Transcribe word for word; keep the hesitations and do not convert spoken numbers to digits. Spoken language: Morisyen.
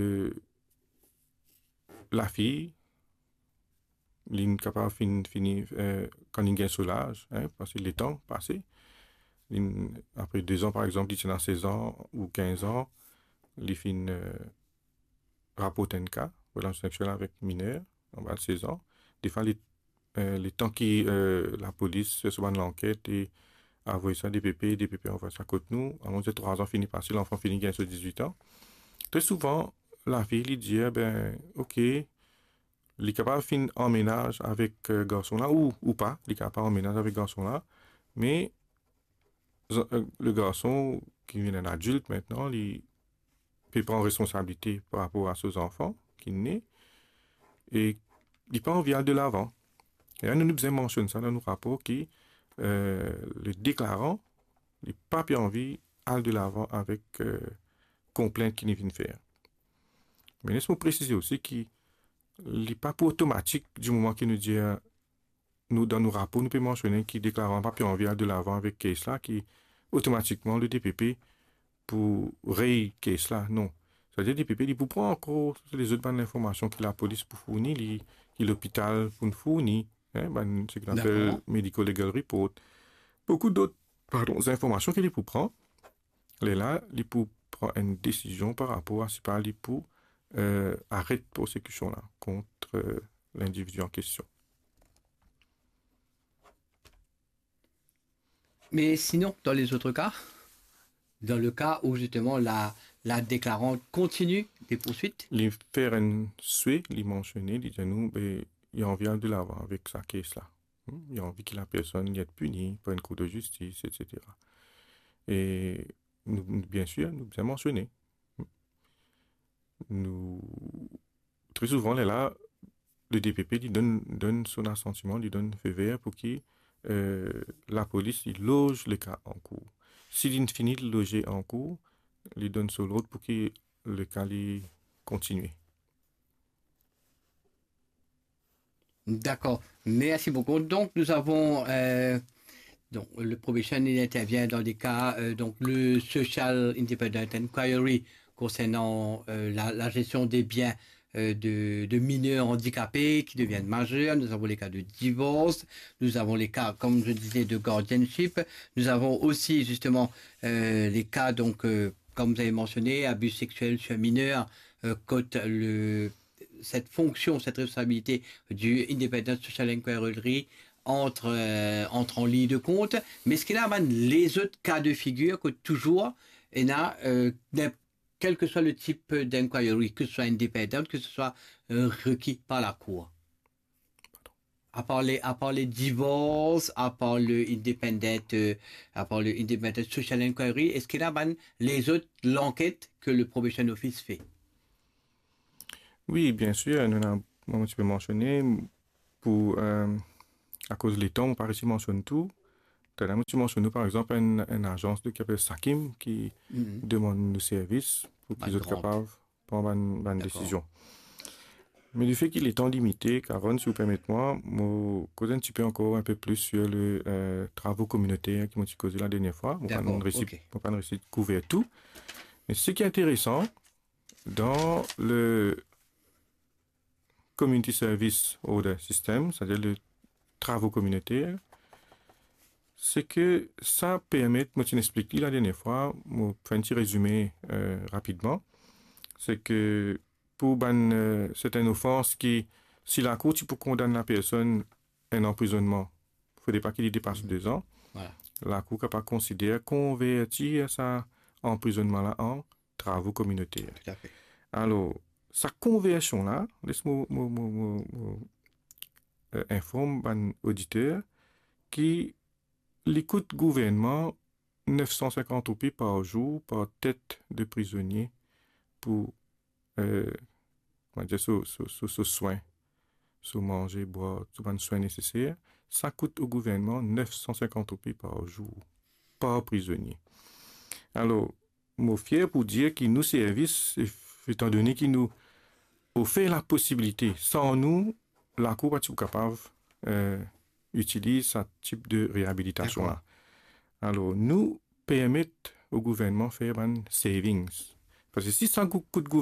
Eh, lafi, li kapav fini, fini, eh, kan li gagn so laz, hein, parski letan pase. Li, apre de zan, par exanp, li ti ena sez an ou kinz an, li finn, eh, raport enn ka relasion seksiel avek miner anba sez an. Defwa, li, eh, letan ki, eh, lapolis fer so bann lanket e avoy sa DPP, DPP avoy sa kot nou, alon dir trwa zan fini pase, lanfan fini gagn so dizwit an. Tre souvan, lafi, li dir, be, ok, li kapav finn an menaz avek, eh, garson la, ou, ou pa, li kapav an menaz avek garson la, me zo-, eh, le garson ki vinn enn adilt aster, li pe pran responsabilite par rapor a so zanfan ki ne, e li pa anvi al de lavan. E la, nou, nou bizin mansionn sa dan nou rapor ki, eh, le deklaran, li pa pe anvi al de lavan avek, eh, konplint ki li finn fer. Me les mo presize osi ki li pa pou otomatik, di moman ki nou dir, nou, dan nou rapor, nou pe mansione ki deklaran pa pe anvi al de lavan avek case la, ki otomatikman le DPP pou rey case la. Non. Savedir DPP, li pou pran ankor lezot bann linformasion ki lapolis pou fourni li, ki lopital pou fourni, hein, bann, seki nou apel medical legal report. Boukou dot, pardon, zinformasion ki li pou pran. Lerla, li pou pran enn desizion par rapor a si pa li pou, eh, aret prosekision la kont, eh, lindividi an kestion. Mais sinon, dans les autres cas, dans le cas où justement la, la déclarante continue des poursuites, Li fer enn swe, li mansione, li dir nou, be, li anvi al de lavan avek sa case la. Hmm, li anvi ki lapersonn li et pini par enn kour de zistis, etsetera. E nou, nou, biensir, nou bizin mansione. Nou, tre souvan, lerla, le DPP, li donn, donn son asantiman, li donn feu vert pou ki, eh, lapolis, li loz le ka an kour. Si li fini loze an kour, li donn so lord pou ki le ka li kontigne. D'accord. Merci beaucoup. Donc, nous avons, euh, donc, le probation, il intervient dans des cas, euh, donc, le Social Independent Inquiry concernant, euh, la, la gestion des biens, euh, de, de mineurs handicapés qui deviennent majeurs. Nous avons les cas de divorce. Nous avons les cas, comme je disais, de guardianship. Nous avons aussi, justement, euh, les cas, donc, euh, comme vous avez mentionné, abus sexuels sur mineurs, euh, kot le, cette fonction, cette responsabilité du Independent Social Inquiry entre, euh, entre en ligne de compte. Mais eski ena bann lezot cas de figure kot touzour ena, euh, n'im-, quel que soit le type d'inquiry, que ce soit indépendant, que ce soit, euh, requis par la cour? À part les, à part les divorces, à part le independent, euh, à part le independent social inquiry, eski ena bann lezot lanket ke le probation office fait? Wi, biensir, nou ena, mo ti pe mansione, pou, eh, akoz letan, mo pa resi mansionn tou. Talè mo ti mansionn nou, par exanp, enn, enn azans de, ki apel Sakim, ki demann nou servis pou ki zot kapav pran bann, bann desizion. Me lefe ki letan limite, Karen, si ou permet mwa, mo koz enn tipe ankor inpe plis sur le, eh, travo kominoter ki mo ti koze la dernie fwa. Mo pa resi, mo pa resi kouver tou. Me seki interesan, dan le Community Service Order System, setadir le travo kominoter, seki sa permet, mo ti explik li la dernie fwa, mo fer enn ti rezime, eh, rapidman, seki pou bann, eh, sertenn ofans ki, si lakour ti pou kondann lapersonn enn anprizonnman, fode pa ki li depas de zan, lakour kapav konsider konvertir sa anprizonnman la an travo kominoter. Alor, sa konversion la, les mo, mo, mo, mo, mo, eh, inform bann oditer ki li kout gouvernman nef san sinkant roupi par zour par tet de prizonie pou, eh, on va dire, so, so, so, so swin, so manze, bwar, so bann swin neseser, sa kout o gouvernman nef san sinkant roupi par zour, par prizonie. Alor, mo fier pou dir ki nou servis, etandone ki nou ofer laposibilite, san nou, lakour pa ti pou kapav, eh, itiliz sa tip de reabilitasion la. Alor, nou permet o gouvernman fer bann savings. Parski si sa kout, kout